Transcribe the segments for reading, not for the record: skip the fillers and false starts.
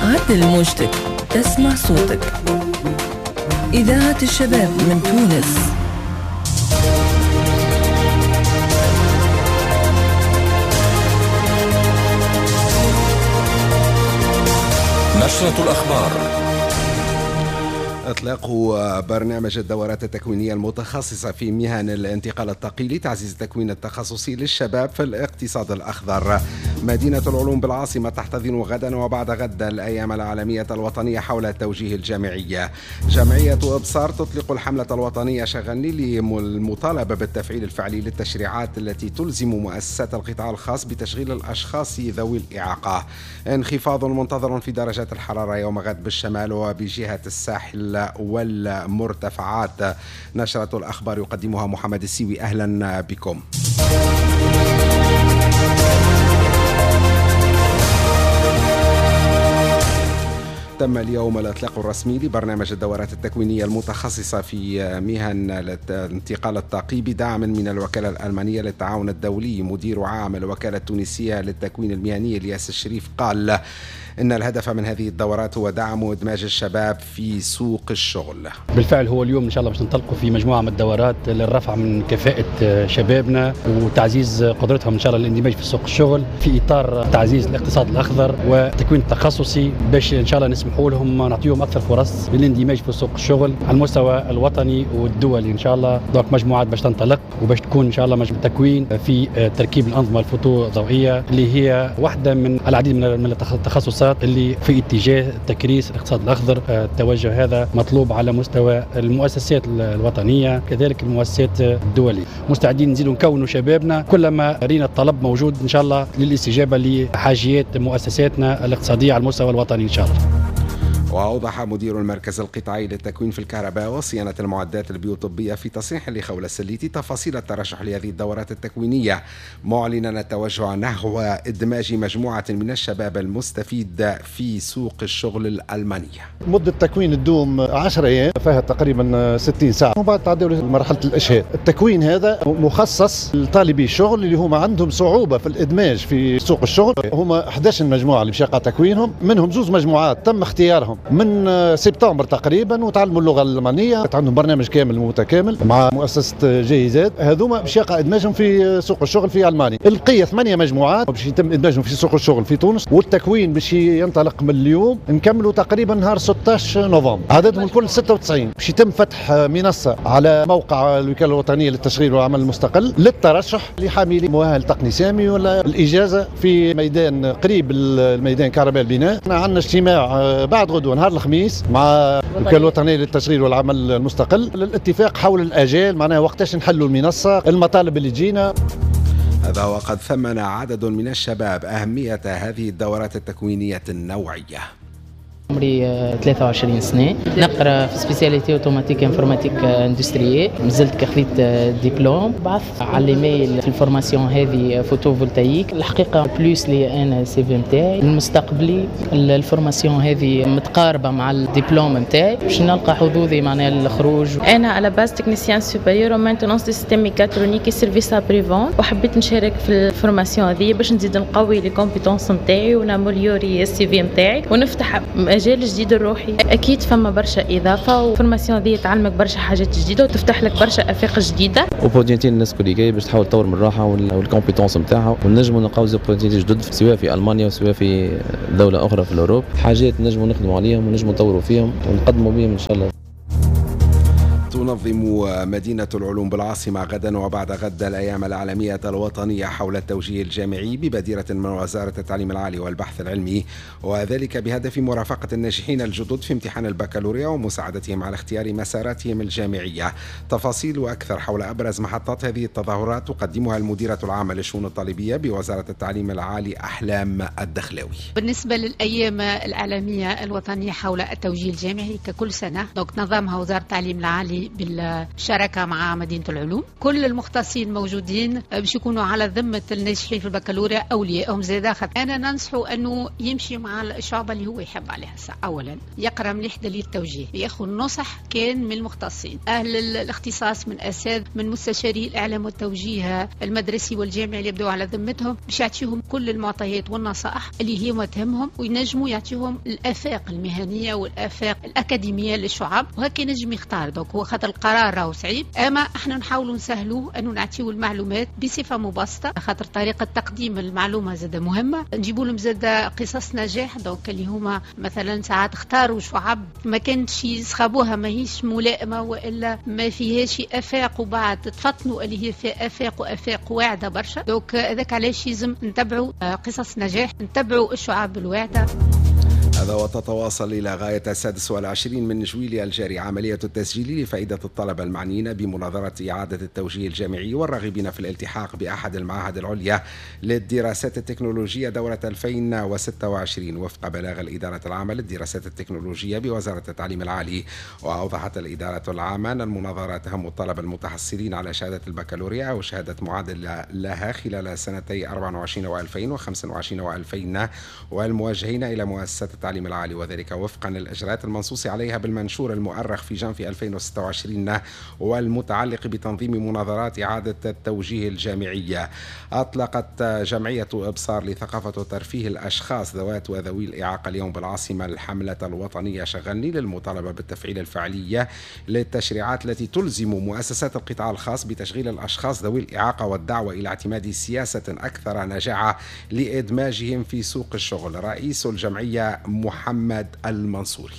عدل موجتك تسمع صوتك. إذاعة الشباب من تونس. نشرة الأخبار. إطلاق برنامج الدورات التكوينية المتخصصة في مهن الانتقال الطاقي لتعزيز التكوين التخصصي للشباب في الاقتصاد الأخضر. مدينة العلوم بالعاصمة تحتضن غدا وبعد غد الأيام العالمية الوطنية حول التوجيه الجامعي. جمعية إبصار تطلق الحملة الوطنية شغلني للمطالبة بالتفعيل الفعلي للتشريعات التي تلزم مؤسسات القطاع الخاص بتشغيل الأشخاص ذوي الإعاقة. انخفاض منتظر في درجات الحرارة يوم غد بالشمال وبجهة الساحل والمرتفعات. نشرة الأخبار يقدمها محمد السيوي. أهلا بكم. تم اليوم الإطلاق الرسمي لبرنامج الدورات التكوينية المتخصصة في مهن الانتقال الطاقي بدعم من الوكالة الألمانية للتعاون الدولي. مدير عام الوكالة التونسية للتكوين المهني الياس الشريف قال إن الهدف من هذه الدورات هو دعم وإدماج الشباب في سوق الشغل. بالفعل هو اليوم إن شاء الله باش ننطلقوا في مجموعة من الدورات للرفع من كفاءة شبابنا وتعزيز قدرتهم إن شاء الله للاندماج في سوق الشغل في إطار تعزيز الاقتصاد الأخضر والتكوين التخصصي، باش إن شاء الله نسمحوا لهم نعطيهم أكثر فرص للاندماج في سوق الشغل على المستوى الوطني والدولي إن شاء الله. donc مجموعات باش تنطلق وباش تكون إن شاء الله مجموعة تكوين في تركيب الأنظمة الفوتوضوئية اللي هي واحدة من العديد من التخصصات اللي في اتجاه تكريس الاقتصاد الاخضر. التوجه هذا مطلوب على مستوى المؤسسات الوطنية كذلك المؤسسات الدولية. مستعدين نزيدوا نكونوا شبابنا كلما رينا الطلب موجود ان شاء الله للاستجابه لحاجيات مؤسساتنا الاقتصادية على المستوى الوطني ان شاء الله. وأوضح مدير المركز القطاعي للتكوين في الكهرباء وصيانة المعدات البيوطبية في تصريح لخولة السليتي تفاصيل الترشح لهذه الدورات التكوينية، معلنا التوجه نحو إدماج مجموعة من الشباب المستفيد في سوق الشغل الألمانية. مدة التكوين تدوم 10 أيام فيها تقريبا 60 ساعة وبعد تعدوا لمرحلة الإشهاد. التكوين هذا مخصص لطالبي الشغل اللي هما عندهم صعوبة في الإدماج في سوق الشغل. هما 11 مجموعة اللي باش يقع تكوينهم، منهم زوز مجموعات تم اختيارهم من سبتمبر تقريبا وتعلموا اللغة الالمانية، عندهم برنامج كامل متكامل مع مؤسسة جايزات. هذوما باش يقع ادماجهم في سوق الشغل في المانيا. البقية 8 مجموعات باش يتم ادماجهم في سوق الشغل في تونس، والتكوين باش ينطلق من اليوم نكملوا تقريبا نهار 16 نوفمبر. عددهم الكل 96. باش يتم فتح منصة على موقع الوكالة الوطنية للتشغيل والعمل المستقل للترشح لحاملي مؤهل تقني سامي ولا الاجازة في ميدان قريب الميدان كهرباء البناء. عندنا اجتماع بعد غدوه نهار الخميس مع الوكالة الوطنية للتشغيل والعمل المستقل للاتفاق حول الاجال، معناها وقتاش نحلوا المنصة، المطالب اللي تجينا. هذا وقد ثمن عدد من الشباب اهمية هذه الدورات التكوينيه النوعية. عمري 23 سنة، نقرا في spécialité automatique informatique industrielle، مازلت كخذيت ديبلوم. بعثت على الايميل في ال formation هذه photovoltaïque. الحقيقة plus لي انا CV نتاعي المستقبلي، ال formation هذه متقاربة مع الدبلوم نتاعي باش نلقى حظوظي معناها الخروج. انا à la base technicien supérieur maintenance des systèmes mécatroniques service après-vente، وحبيت نشارك في ال formation هذه باش نزيد نقوي les compétences نتاعي ون améliorer ال CV نتاعي ونفتح مجال جديد لروحي. اكيد فما برشا اضافه، وال formation هذه تعلمك برشا حاجات جديدة وتفتح لك برشا افاق جديدة. opportunité للناس الكل جاي باش تحاول تطور من روحها وال compétences نتاعها، ونجموا نلقاو des opportunités جدد سواء في المانيا وسواء في دولة اخرى في l'Europe، حاجات نجموا نخدموا عليهم ونجموا نطوروا فيهم ونقدموا بهم ان شاء الله. تنظم مدينة العلوم بالعاصمة غدا وبعد غد الأيام العالمية الوطنية حول التوجيه الجامعي ببادرة من وزارة التعليم العالي والبحث العلمي، وذلك بهدف مرافقة الناجحين الجدد في امتحان البكالوريا ومساعدتهم على اختيار مساراتهم الجامعية. تفاصيل وأكثر حول أبرز محطات هذه التظاهرات تقدمها المديرة العامة للشؤون الطالبية بوزارة التعليم العالي أحلام الدخلاوي. بالنسبة للأيام العالمية الوطنية حول التوجيه الجامعي ككل سنة، donc نظمها وزارة التعليم العالي يعني بالشراكة مع مدينة العلوم. كل المختصين موجودين باش يكونوا على ذمة الناجحين في البكالوريا أوليائهم زادة. أنا ننصحه أنه يمشي مع الشعبة اللي هو يحب عليها. أولا يقرأ مليح دليل التوجيه، ياخذ نصح كان من المختصين أهل الاختصاص، من أساتذة، من مستشاري الإعلام والتوجيه المدرسي والجامعي اللي يبدو على ذمتهم، باش يعطيهم كل المعطيات والنصائح اللي هي ما تهمهم، وينجموا يعطيهم الآفاق المهنية والآفاق الأكاديمية للشعب، وهكا ينجم يختار. donc هو خاطر القرار راهو صعيب، أما احنا نحاولوا نسهلوه أنه نعطيو المعلومات بصفة مبسطة، خاطر طريقة تقديم المعلومة زادة مهمة. نجيبوا لهم زادة قصص نجاح، donc اللي هما مثلا ساعات اختاروا شعب ما كانش يسخبوها، ماهيش ملائمة وإلا ما فيهاش آفاق، وبعد تفطنوا اللي هي فيها آفاق وآفاق واعدة برشا. donc هذاك علاش لازم نتبعوا قصص نجاح، نتبعوا الشعب الواعدة. هذا وتتواصل إلى غاية 26 من جويلية الجاري عملية التسجيل لفائدة الطلبة المعنيين بمناظرة إعادة التوجيه الجامعي والراغبين في الالتحاق بأحد المعاهد العليا للدراسات التكنولوجية دورة 2026 وفق بلاغ الإدارة العامة للدراسات التكنولوجية بوزارة التعليم العالي. وأوضحت الإدارة العامة أن المناظرة تهم الطلبة المتحصلين على شهادة البكالوريا أو شهادة معادلة لها خلال سنتي 24 و2000 و25 و2000 والموجهين إلى مؤسسات التعليم العالي، وذلك وفقا للإجراءات المنصوص عليها بالمنشور المؤرخ في جانفي 2026 والمتعلق بتنظيم مناظرات إعادة التوجيه الجامعية. أطلقت جمعية إبصار لثقافة وترفيه الأشخاص ذوات وذوي الإعاقة اليوم بالعاصمة الحملة الوطنية شغلني للمطالبة بالتفعيل الفعلية للتشريعات التي تلزم مؤسسات القطاع الخاص بتشغيل الأشخاص ذوي الإعاقة والدعوة إلى اعتماد سياسة أكثر نجاعة لإدماجهم في سوق الشغل. رئيس الجمعية محمد المنصوري: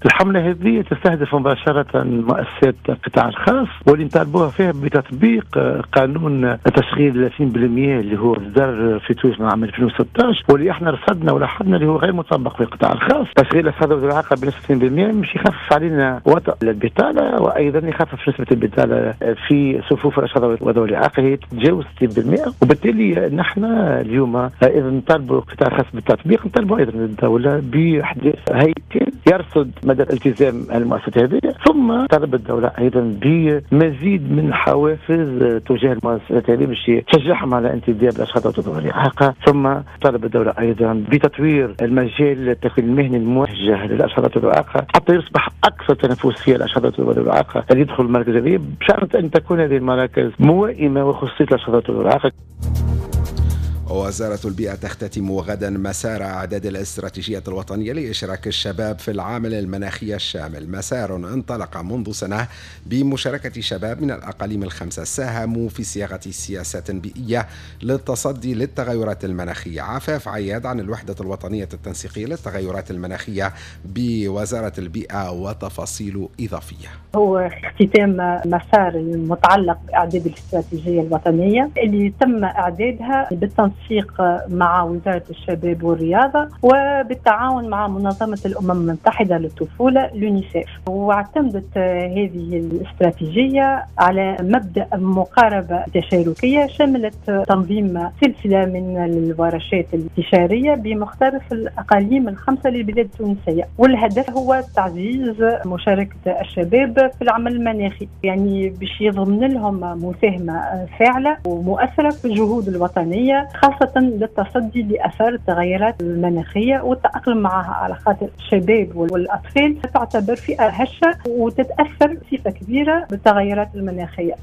الحملة هذه تستهدف مباشرة مؤسسات القطاع الخاص، واللي نطالبوها فيها بتطبيق قانون تشغيل 30% اللي هو صدر في تونس من عام 2016، واللي احنا رصدنا ولاحظنا اللي هو غير مطبق في القطاع الخاص. تشغيل الأشخاص ذوي الإعاقة بنسبة 30% مش يخفف علينا وطأ البطالة، وأيضا يخفف نسبة البطالة في صفوف الأشخاص ذوي الإعاقة هي تتجاوز 60%. وبالتالي نحن اليوم إذا نطالبوا القطاع الخاص بالتطبيق، نطالبوا أيضا الدولة بإحداث هيكل يرصد مدى التزام المؤسسات هذه، ثم طلب الدولة أيضا بمزيد من حوافز تجاه المؤسسات هذه باش تشجعهم على انتداب الأشخاص ذوي الإعاقة، ثم طلب الدولة أيضا بتطوير المجال التكوين المهني الموجه للأشخاص ذوي الإعاقة حتى يصبح أكثر تنافسية للأشخاص ذوي الإعاقة اللي يدخل المراكز هذه، بشرط أن تكون هذه المراكز موائمة وخصوصية للأشخاص ذوي الإعاقة. وزارة البيئة تختتم غدا مسار إعداد الاستراتيجية الوطنية لإشراك الشباب في العامل المناخي الشامل، مسار انطلق منذ سنة بمشاركة شباب من الأقاليم الخمسة ساهموا في صياغة سياسات بيئية للتصدي للتغيرات المناخية. عفاف عياد عن الوحدة الوطنية التنسيقية للتغيرات المناخية بوزارة البيئة وتفاصيل إضافية. هو اختتام مسار المتعلق بإعداد الاستراتيجية الوطنية اللي تم إعدادها بالتنسيق مع وزارة الشباب والرياضة وبالتعاون مع منظمة الأمم المتحدة للطفولة اليونيسيف. واعتمدت هذه الاستراتيجية على مبدأ مقاربة تشاركية شملت تنظيم سلسلة من الورشات الاستشارية بمختلف الأقاليم الخمسة للبلاد التونسية، والهدف هو تعزيز مشاركة الشباب في العمل المناخي، يعني باش يضمن لهم مساهمة فاعلة ومؤثرة في الجهود الوطنية، خاصة للتصدي لأثار التغيرات المناخية والتأقلم معها، على خاطر الشباب والأطفال تعتبر فئة هشة وتتأثر بصفة كبيرة بالتغيرات المناخية.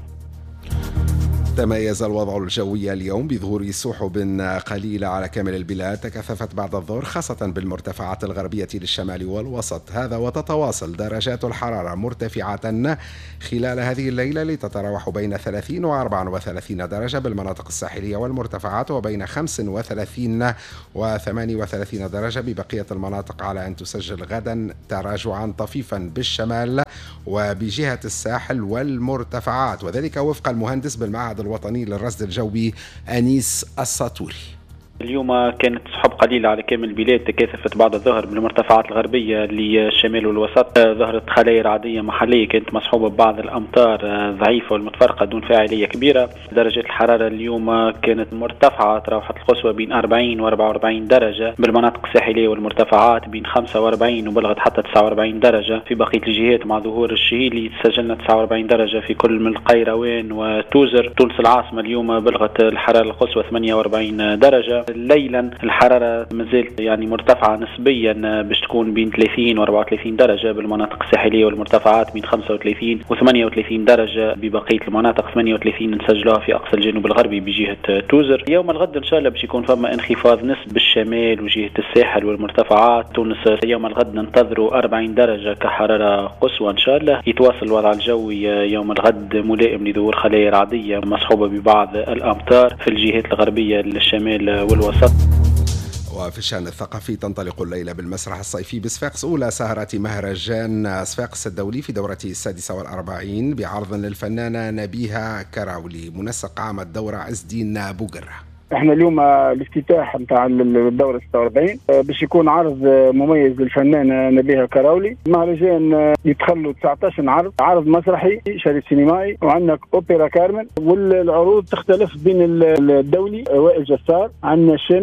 تميز الوضع الجوي اليوم بظهور سحب قليلة على كامل البلاد تكثفت بعد الظهر خاصة بالمرتفعات الغربية للشمال والوسط، هذا وتتواصل درجات الحرارة مرتفعة خلال هذه الليلة لتتراوح بين 30 و 34 درجة بالمناطق الساحلية والمرتفعات، وبين 35 و 38 درجة ببقية المناطق، على أن تسجل غدا تراجعا طفيفا بالشمال وبجهة الساحل والمرتفعات، وذلك وفق المهندس بالمعهد الوطني للرصد الجوي أنيس الساطوري. اليوم كانت سحب قليلة على كامل البلاد، تكاثفت بعد الظهر بالمرتفعات الغربية للشمال والوسط، ظهرت خلايا رعدية محلية كانت مصحوبة ببعض الأمطار ضعيفة والمتفرقة دون فاعلية كبيرة. درجة الحرارة اليوم كانت مرتفعة، تراوحت القصوى بين 40 و 44 درجة بالمناطق الساحلية والمرتفعات، بين 45 وبلغت حتى 49 درجة في بقية الجهات. مع ظهور الشهيلي سجلنا 49 درجة في كل من القيروان وتوزر. تونس العاصمة اليوم بلغت الحرارة القصوى 48 درجة. ليلا الحرارة مازالت يعني مرتفعة نسبيا، باش تكون بين 30 و 34 درجة بالمناطق الساحلية والمرتفعات، بين 35 و 38 درجة ببقية المناطق، 38 نسجلوها في أقصى الجنوب الغربي بجهة توزر. يوم الغد إن شاء الله باش يكون فما انخفاض نسبي بالشمال وجهة الساحل والمرتفعات. تونس يوم الغد ننتظروا 40 درجة كحرارة قصوى إن شاء الله. يتواصل الوضع الجوي يوم الغد ملائم لظهور خلايا رعدية مصحوبة ببعض الأمطار في الجهات الغربية للشمال والوسط. وفي الشأن الثقافي، تنطلق الليلة بالمسرح الصيفي بصفاقس أولى سهرات مهرجان صفاقس الدولي في دورته 46 بعرض للفنانة نبيهة كراولي. منسق عام الدورة عز الدين بوقرة. احنا اليوم الافتتاح نتاع الدورة 46 باش يكون عرض مميز للفنانه نبيهه كراولي. مهرجان يتخلوا 19 عرض، عرض مسرحي، شريط سينمائي، وعندنا اوبرا كارمن. والعروض تختلف بين الدولي وائل جسار، عندنا الشامي.